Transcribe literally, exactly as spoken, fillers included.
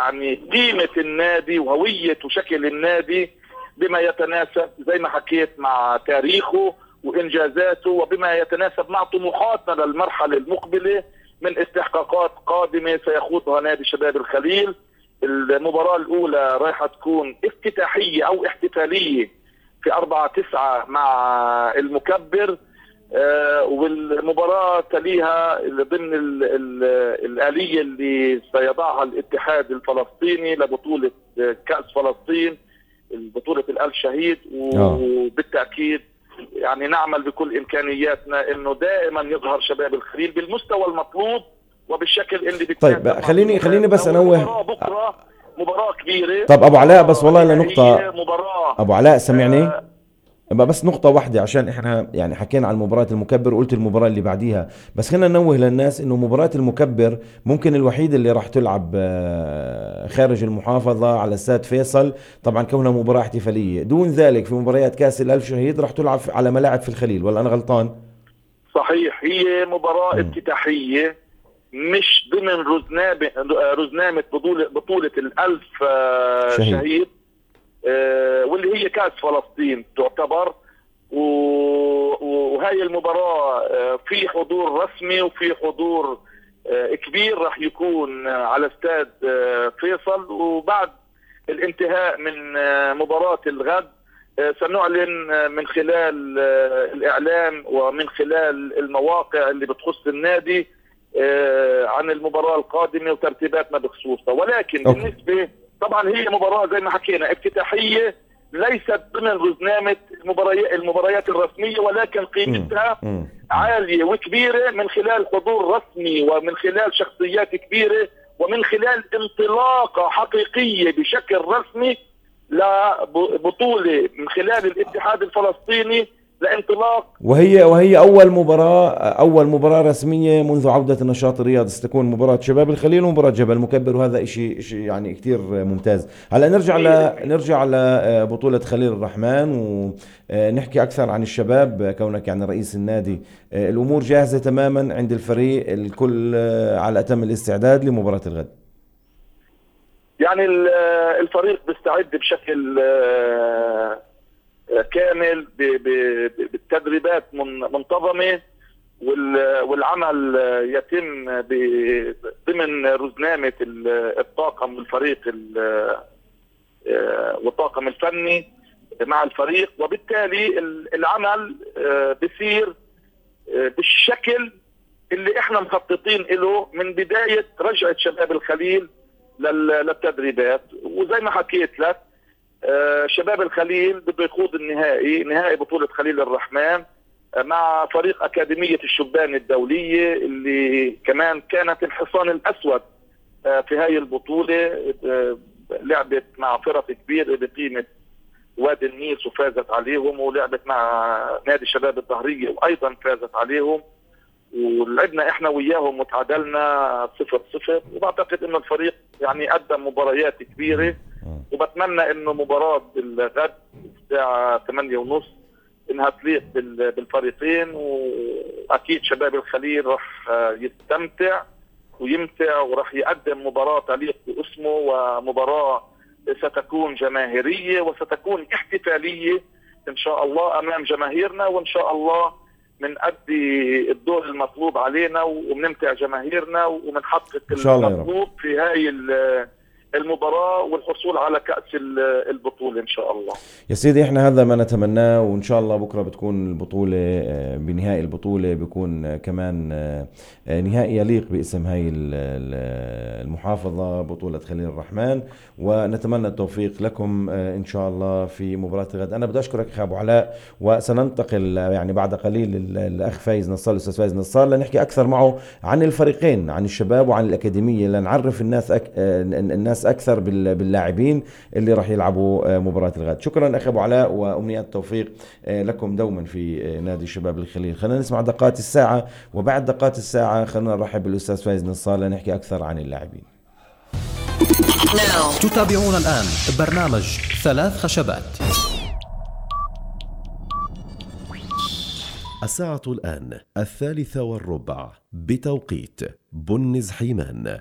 يعني قيمة النادي وهوية وشكل النادي بما يتناسب زي ما حكيت مع تاريخه وإنجازاته، وبما يتناسب مع طموحاتنا للمرحلة المقبلة من استحقاقات قادمة سيخوضها نادي شباب الخليل. المباراة الأولى رايحة تكون افتتاحية أو احتفالية في أربعة تسعة مع المكبر، آه والمباراة تليها ضمن ال ال الآلية اللي سيضعها الاتحاد الفلسطيني لبطولة كأس فلسطين، بطولة الآل شهيد. وبالتأكيد يعني نعمل بكل إمكانياتنا إنه دائما يظهر شباب الخليل بالمستوى المطلوب وبالشكل اللي طيب خليني خليني بس أنوه بكرة مباراة كبيرة. طب أبو علاء بس والله لنقطة مباراة أبو علاء سمعني آه بس نقطة واحدة، عشان احنا يعني حكينا عن مباراة المكبر وقلت المباراة اللي بعديها، بس خلينا ننوه للناس انه مباراة المكبر ممكن الوحيد اللي راح تلعب خارج المحافظة على استاد فيصل، طبعا كونها مباراة احتفالية. دون ذلك في مباريات كاس الألف شهيد راح تلعب على ملاعب في الخليل، ولا انا غلطان؟ صحيح، هي مباراة م. افتتاحية مش ضمن رزنامة رزنامة بطولة بطولة الألف شهيد, شهيد. آه واللي هي كاس فلسطين تعتبر، وهي المباراة آه في حضور رسمي وفي حضور آه كبير راح يكون آه على استاد آه فيصل. وبعد الانتهاء من آه مباراة الغد آه سنعلن آه من خلال آه الإعلام ومن خلال المواقع اللي بتخص النادي آه عن المباراة القادمة وترتيباتنا بخصوصها. ولكن أوكي. بالنسبة طبعا هي مباراة زي ما حكينا افتتاحية ليست ضمن رزنامة المباريات المباريات الرسمية، ولكن قيمتها م. م. عالية وكبيرة من خلال حضور رسمي ومن خلال شخصيات كبيرة ومن خلال انطلاقة حقيقية بشكل رسمي لبطولة من خلال الاتحاد الفلسطيني لانطلاق. وهي وهي اول مباراه اول مباراه رسميه منذ عوده النشاط الرياضي، ستكون مباراه شباب الخليل ومباراه جبل المكبر، وهذا شيء شيء يعني كثير ممتاز. هلا نرجع ل نرجع لبطوله خليل الرحمن ونحكي اكثر عن الشباب. كونك يعني رئيس النادي، الامور جاهزه تماما عند الفريق، الكل على اتم الاستعداد لمباراه الغد؟ يعني الفريق بيستعد بشكل كامل بالتدريبات منتظمة، والعمل يتم ضمن رزنامة الطاقم الفريق والطاقم الفني مع الفريق، وبالتالي العمل بيصير بالشكل اللي احنا مخططين له من بداية رجعة شباب الخليل للتدريبات. وزي ما حكيت لك آه شباب الخليل بده يخوض النهائي نهائي بطولة خليل الرحمن آه مع فريق أكاديمية الشبان الدولية اللي كمان كانت الحصان الأسود آه في هاي البطولة. آه لعبت مع فرق كبيرة بقيمة وادي النيل وفازت عليهم، ولعبت مع نادي شباب الظهرية وأيضا فازت عليهم، ولعبنا احنا وياهم وتعادلنا صفر صفر. وبعتقد انه الفريق يعني قدم مباريات كبيرة، وبتمنى انه مباراة الغد الساعة ثمانية ونص انها تليق بالفريقين، واكيد شباب الخليل رح يستمتع ويمتع ورح يقدم مباراة تليق باسمه، ومباراة ستكون جماهيرية وستكون احتفالية ان شاء الله امام جماهيرنا، وان شاء الله منأدي الدور المطلوب علينا ومنمتع جماهيرنا ومنحقق المطلوب في هاي المباراة والحصول على كأس البطولة إن شاء الله. يا سيدي احنا هذا ما نتمناه، وإن شاء الله بكرة بتكون البطولة بنهائي البطولة بيكون كمان نهائي يليق باسم هاي المحافظة بطولة خليل الرحمن، ونتمنى التوفيق لكم إن شاء الله في مباراة غد. أنا بدي أشكرك أخي أبو علاء، وسننتقل يعني بعد قليل الأخ فايز نصار الأستاذ فايز نصار لنحكي أكثر معه عن الفريقين، عن الشباب وعن الأكاديمية، لنعرف الناس أك... الناس أكثر باللاعبين اللي راح يلعبوا مباراة الغد. شكرا أخي أبو علاء، وأمنيات التوفيق لكم دوما في نادي شباب الخليل. خلينا نسمع دقات الساعة، وبعد دقات الساعة خلينا نرحب بالأستاذ فايز نصار لنحكي أكثر عن اللاعبين. تتابعون الآن برنامج ثلاث خشبات. الساعة الآن الثالثة والربع بتوقيت بنز حيمان.